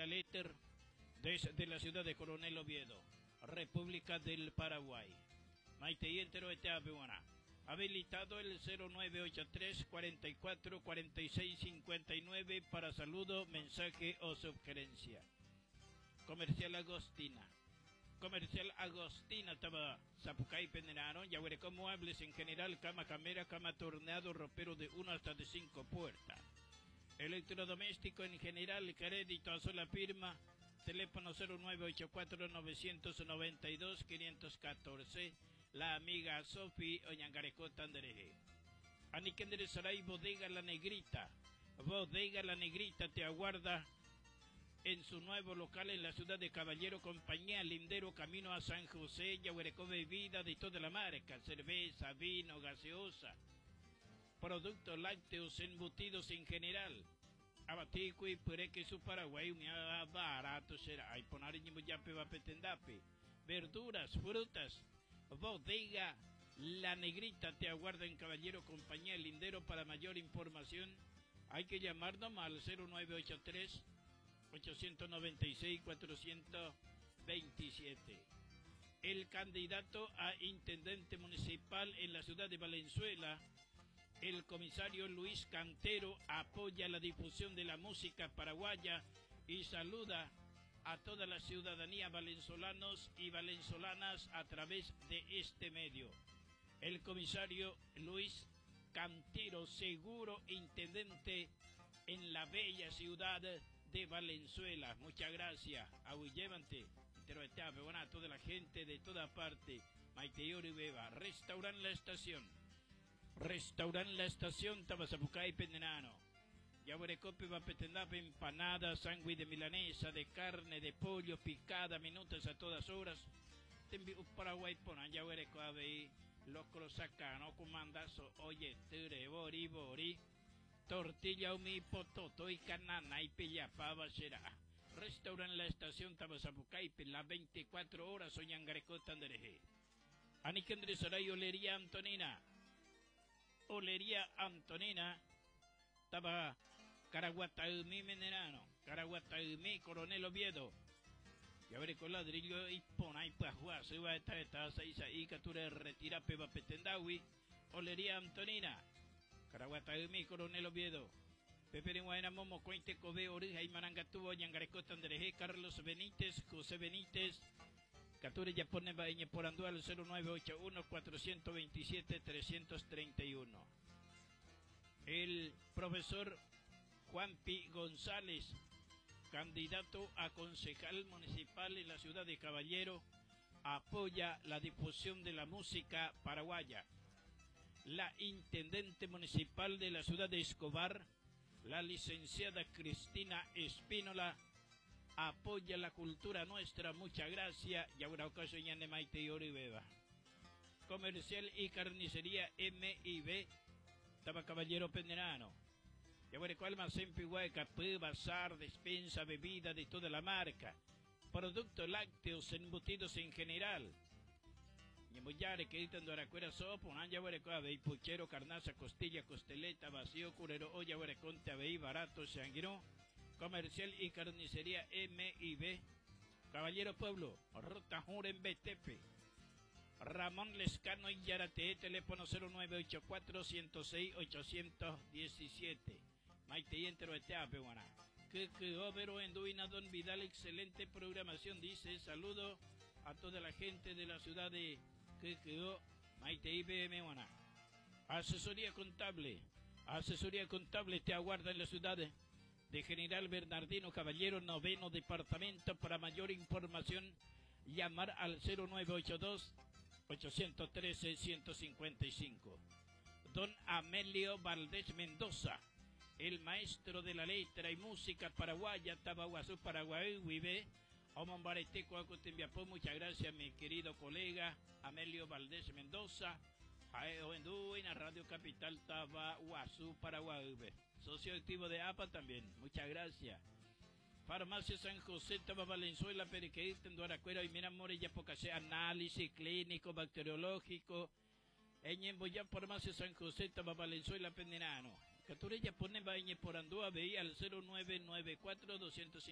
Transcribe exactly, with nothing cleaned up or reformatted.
al éter desde la ciudad de Coronel Oviedo, República del Paraguay. Maitei enterovete. Habilitado el cero nueve ocho tres cuarenta y cuatro cuarenta y seis cincuenta y nueve para saludo, mensaje o sugerencia. Comercial Agostina. Comercial Agostina, estaba Zapucay, Penderano, Yaguarecó muebles en general, cama camera, cama torneado, ropero de uno hasta de cinco puertas. Electrodoméstico en general, crédito a sola firma, teléfono cero nueve ocho cuatro novecientos noventa y dos quinientos catorce, la amiga Sofi Oñangarecó Tandereje. Aniquendere Saray, Bodega La Negrita. Bodega La Negrita te aguarda en su nuevo local en la ciudad de Caballero, compañía Lindero, camino a San José, Yaguarecó, bebida de toda la marca, cerveza, vino, gaseosa, productos lácteos, embutidos en general. Abatico y pureque su Paraguay, un barato será. Ay, ponar en yape va petendape. Verduras, frutas, Bodega La Negrita te aguarda en Caballero, compañía Lindero. Para mayor información hay que llamarnos al cero nueve ocho tres ochocientos noventa y seis cuatrocientos veintisiete. El candidato a intendente municipal en la ciudad de Valenzuela, el comisario Luis Cantero, apoya la difusión de la música paraguaya y saluda a toda la ciudadanía valenzolanos y valenzolanas a través de este medio. El comisario Luis Cantero, seguro intendente en la bella ciudad de Valenzuela. Muchas gracias. Aguillevante. Bueno, a toda la gente de toda parte. Maite Ori Beba. Restaurant La Estación. Restaurant La Estación, Tabasapucay, Pendenano. Yaguarecope, Vapetendape, empanada, sándwich de milanesa, de carne, de pollo, picada, minutos a todas horas. Tembi Paraguay, ponan Yaguarecope, locro sacano, comandazo, oye, ture, bori, bori. Tortilla, umi, pototo y canana y pillapava será. Restaurant La Estación, Tabasapucay, las veinticuatro horas, Oñangareco, Tandereje. Aniquendre Saray, Olería Antonina. Olería Antonina, Taba Caraguataumí, Menerano, Caraguataumí, Coronel Oviedo. Y a ver con ladrillo y ponay pajua, se va a estar esta seis ahí, catura retira peba petendawi. Olería Antonina, Caraguataumí, Coronel Oviedo. Pepe de Guayana, Momo, Cuente, Kobe, Orija y Marangatubo, Ñangareco, Tandereje, Carlos Benítez, José Benítez. Catura ya pone Baeñe por Andúa al cero nueve ocho uno cuatrocientos veintisiete trescientos treinta y uno. El profesor Juanpi González, candidato a concejal municipal en la ciudad de Caballero, apoya la difusión de la música paraguaya. La intendente municipal de la ciudad de Escobar, la licenciada Cristina Espínola, apoya la cultura nuestra. Muchas gracias. Y ahora ocasión ya de Maite y Ori Beba. Comercial y carnicería M y B, Taba Caballero Penderano. Y ahora cual almacén Piguay, Capú, bazar, despensa, bebida de toda la marca. Productos lácteos, embutidos en general. Y en que editan Doracuera sopo, un año huere, y puchero, carnaza, costilla, costeleta, vacío, curero, olla, huere, conte, aveí, barato, sanguinó. Comercial y carnicería M y B, Caballero Pueblo, Ruta Juren B T P. Ramón Lescano y Yarate, teléfono cero nueve ocho cuatro, ciento seis, ochocientos diecisiete. Maite y entero de Teape, guaná. Que, que, Overo, Enduina, Don Vidal, excelente programación, dice. Saludo a toda la gente de la ciudad de K K O, Maite y B M, guaná. Asesoría contable. Asesoría contable te aguarda en la ciudad de General Bernardino Caballero, noveno departamento. Para mayor información, llamar al cero nueve ocho dos, ochocientos trece, ciento cincuenta y cinco. Don Amelio Valdés Mendoza, el maestro de la letra y música paraguaya, Tabaguazú, Paraguay, Huibe, Omombareteco, Acutembiapó. Muchas gracias, mi querido colega Amelio Valdés Mendoza. Ae, en la Radio Capital, Tabaguazú, Paraguay, Huibe. Socio activo de A P A también, muchas gracias. Farmacia San José, Taba Valenzuela, Periqueíta, Enduaracuera y Miramore, Yapocasé, análisis clínico, bacteriológico. En Emboyá, Farmacia San José, Taba Valenzuela, Pendenano. Caturella pone Bañe por Andúa, veía al cero nueve nueve cuatro, doscientos